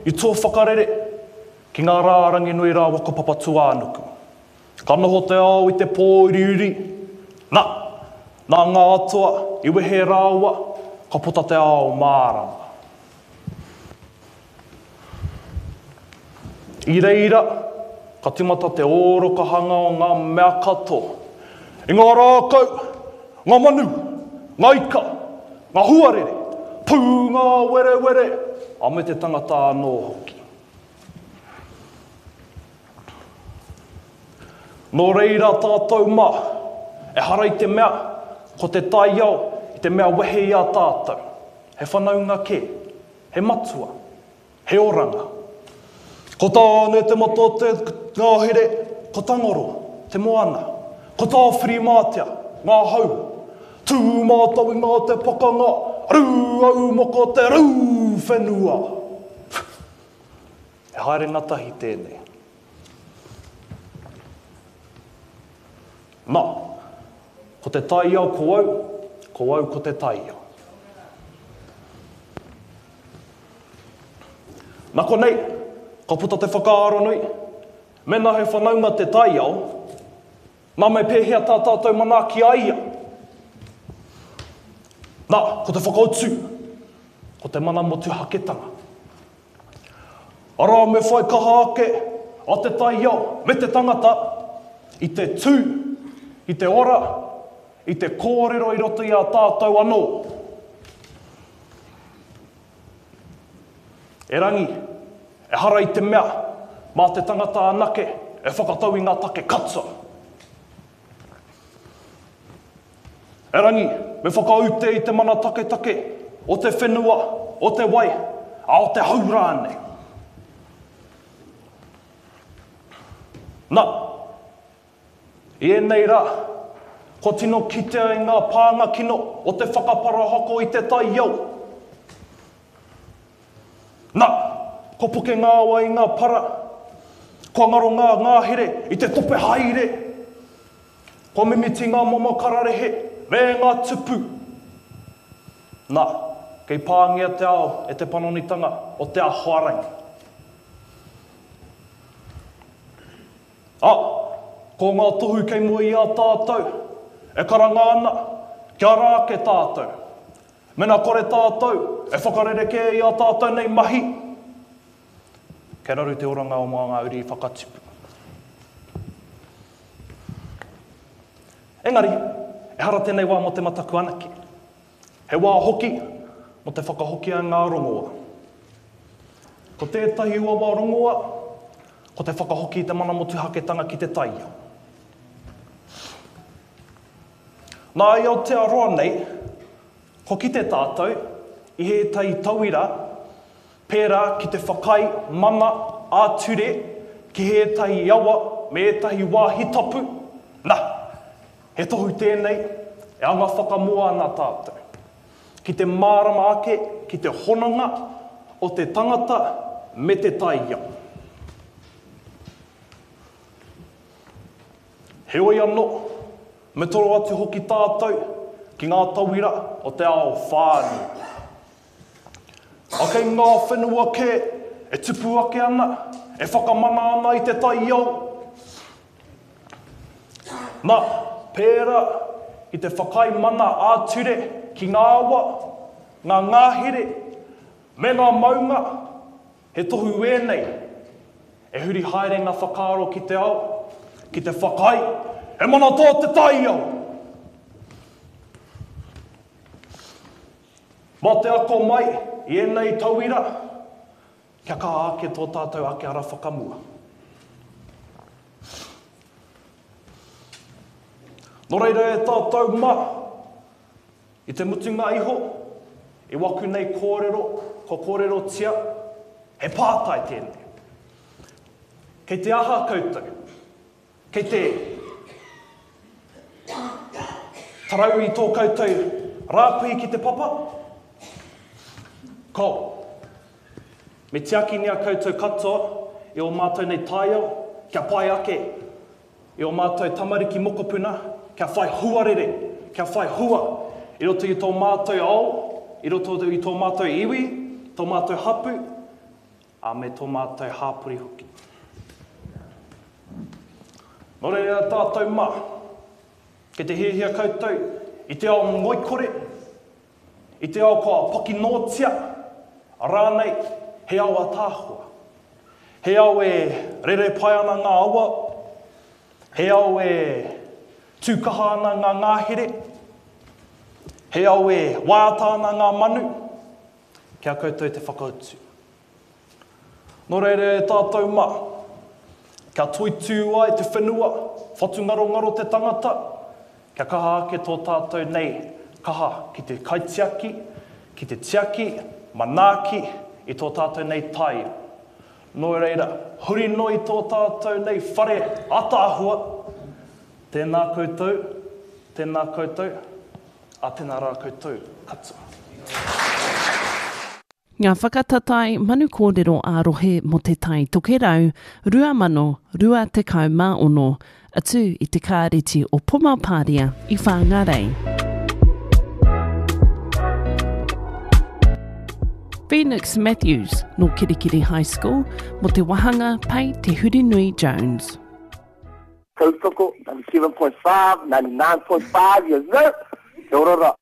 i tō whakarere ki ngā rā Ranginui rāua ko Papatūānuku. Ka noho te ao i te pōuriuri, na, nā ngā atua i wehe rāua, ka puta te ao mārama. I reira, ka timata te ōrokahanga o ngā mea katoa, i ngā rākau, ngā manu, ngā ika, ngā huarere, pū ngā werewere, a me te tangata anō hoki. Nō reira tātou mā, ehara i te mea ko te taiao i te mea wehe i a tātou, he whanaunga kē, he matua, he oranga. Ko Tāne te mata o te ngahere, ko Tangaroa te moana, ko Tāwhirimātea ngā hau, tū mātou i ngā te pakanga, rūaumoko te rū whenua. He haere ngatahi tēnei. Na, ko te taiao ko au, ko au ko te taiao. Na konei, ka puta te whakaaro nui, mena he whanaunga te taiao, na me pēhea tā tātou manaaki a ia? Na, ko te whakautu, ko te mana motuhaketanga. Arā, me whai kaha ake a te taiao me te tangata i te tū, i te ora, i te kōrero i roto i a tātou anō. Erangi, ehara i te mea mā te tangata anake e whakatau i ngā take katoa. Erangi, me whakaute i te mana taketake o te whenua, o te wai, a o te hau rānei. Na, i ēnei rā, kua tino kitea i ngā pānga kino o te whakaparahako i te taiao. Na, kua poke ngā awa i ngā para, kua ngaro ngā ngahere i te tope haere. Kua mimiti ngā momo kararehe me ngā tupu. Na, kei pāngia te ao e te panonitanga o te ahoarangi. A, ko ngā tohu kei mua i a tātou, e karanga ana, kia ara ake tātou. Mena kore tātou e whakarerekē i ā tātou nei mahi, kei raru te oranga o ngā uri whakatipu. Engari, ehara tēnei wā mō te mataku anake. He wā hoki mō te whakahokia ngā rongoa. Ko tētahi uaua rongoa, ko te whakahoki i te mana motuhaketanga ki te taiao. Nā i Aotearoa nei, kua kite tātou i ētahi tauira pērā ki te whakaae mana ā-ture ki ētahi awa me ētahi wāhi tapu, na, he tohu tēnei e anga whakamua ana tātou, ki te mārama ake ki te hononga o te tangata me te taiao. Heoi anō, me toro atu hoki tātou ki ngā tauira o te ao whānui. A kei ngā whenua kē e tupu ake ana, e whakamana ana i te taiao. Na, pērā i te whakaae mana ā-ture ki ngā awa, ngā ngahere, me ngā maunga, he tohu ēnei e huri haere ngā whakaaro ki te ao, ki te whakaae, he mana tō te taiao! Mā te ako mai i ēnei tauira, kia kaha ake tō tātou ake ara whakamua. Nō reira e tātou mā, i te mutunga iho, i waku nei kōrero, kua kōrerotia, he pātai tēnei. Kei te aha koutou? Kei te tarau i tō koutou rāpī ki te papa? Ko. Me tiakingia koutou katoa i ō mātou nei taiao kia pai ake i ō mātou tamariki mokopuna kia whai huarere, kia whai hua i roto i tō mātou ao, i roto i tō mātou iwi, tō mātou hapu. Ā, me tō mātou hāpori hoki. Nō reira tātou mā, kei te hiahia koutou i te ao ngoikore, i te ao kua pokinōtia, rānei he ao ataahua. He ao e rere pai ana ngā awa, he ao e tū kaha ana ngā ngāhere, he ao e waiata ana ngā manu, Ki a koutou te whakautu. Nō reira e tātou mā, kia toitū ai te whenua, whatungarongaro te tangata, kia kaha ake tō tātou nei kaha ki te kaitiaki, ki te tiaki, manaaki i tō tātou nei taiao. Nō reira, huri noa i tō tātou nei whare ataahua, tēnā koutou, tēnā koutou, A tena ra koutou katoa. Ngā whakatatae manu kōrero ā-rohe mō Te Tai Tokerau 2026, atu i te Kāreti o Pomapāria i Whāngārei. Phoenix Matthews nō Kerikeri High School mō te wāhanga Pei Te Hurinui Jones. Tautoko, 97.5, 99.5, yes sir! Kia ora ra.